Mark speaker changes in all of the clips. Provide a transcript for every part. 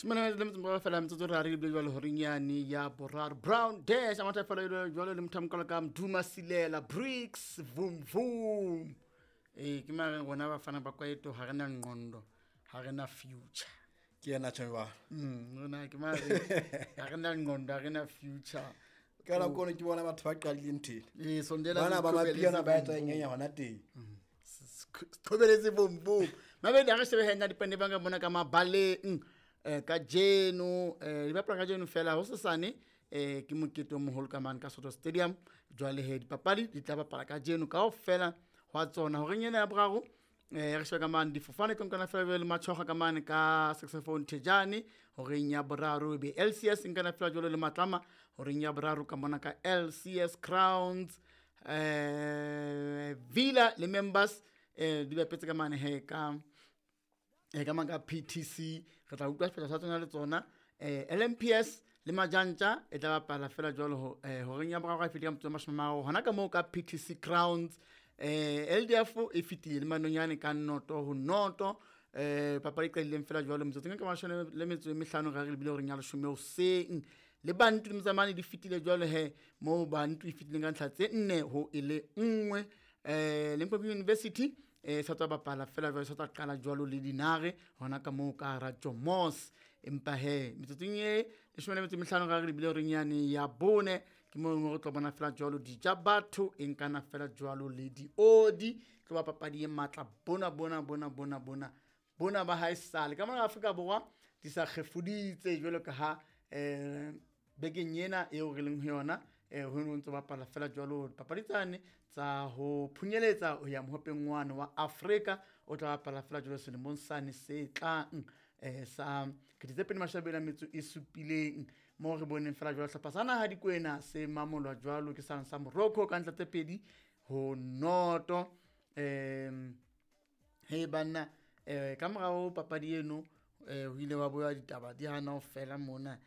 Speaker 1: Somana le motse fela metsotso re re bile jwale horeng yane ya boraro. Brown Dash a matha fela jwale le motho a ka Mduma Silela Bricks Vum Vum. Ee, ke mare rona bafana ba kwaeto ha re na nqondo, ha re na future.
Speaker 2: Ke yena tjheba.
Speaker 1: Rona ke mare ha re na nqondo, ha re na future.
Speaker 2: Ka la kono ke bona batho ba qadileng ntho ena.
Speaker 1: Ee, sondela
Speaker 2: Bana ba mapiano ba etsa eng ya hona teng.
Speaker 1: Qhobeletse boom boom. Mabedi ha re shebe hena dipane ba ka bona ka mabaleng. Kajeno di bapala kajeno fela ho sesane ke mokete o moholo ka mane ka Soto Stadium. Jwale he dipapadi di tla bapala kajeno kaofela hwa tsona. Horeng ena ya boraro re shebe ka mane difofane tlo nkana fela jwale le Matshoga ka mane ka Saxophone Thejane. Horeng ya boraro be LCS nkana fela jwale le Matlama. Horeng ya boraro ka mona ka LCS Crowns Villa le Members di bapetse ka mane he ka ka mang ka PTC. Re tla utlwa sephetho sa tsona le tsona. LMPS le Majantja e tla bapala fela jwalo horeng ya boraro e fetile ka motso wa 30 hona ka moo ka PTC Crowns. LDF e fetile le Manonyane ka 0-0. Papadi e qadileng fela jwalo metsotsong e ka 15 re lebile horeng ya 10 hoseng. Le Bantu le Motsamane di fetile jwalo he moo Bantu e fetileng ka ntlha tse 4-1. Limpopo University sa tswa bapala fela jwalo, sa tswa qala jwalo le Dinare hona ka moo ka hara Jomos. Empa he metsotsong e 15 re lebile horeng yane ya bone ke moo re tlo bona fela jwalo dija batho e nkana fela jwalo le diodi. Tlo ba papadi e matla bona bona bona bona bona bona ba hae sale ka mona Afrika Borwa di sa kgefuditse jwalo ka ha bekeng ena eo re leng ho yona ho no ntse bapala fela jwalo papadi tsane tsa ho phunyeletsa ho ya mohopeng wane wa Afrika o tla bapala fela jwalo selemong sane se tlang sa 2027 mo re boneng fela jwalo hlopha sa naha Dikwena se mamolwa jwalo ke sa Morocco ka ntlha tse 2-0. He banna ka morao papadi eno ho ile wa boya ditaba di hana ho fela mona.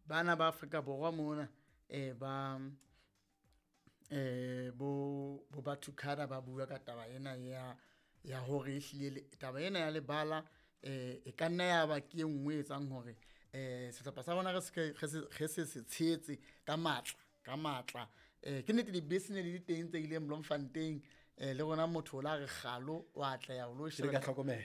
Speaker 1: Bana ba Afrika Borwa mona ba bo batho khada ba bua ka taba ena ya hore ehlile taba ena ya lebala e ka nna ya ba ke e nngwe e etsang hore sehlopha sa rona re se tshehetse ka matla. Ke nnete dibese ne di le teng tse ileng Bloemfontein le rona motho o la re kgalo wa atleha o lo sheba papadi.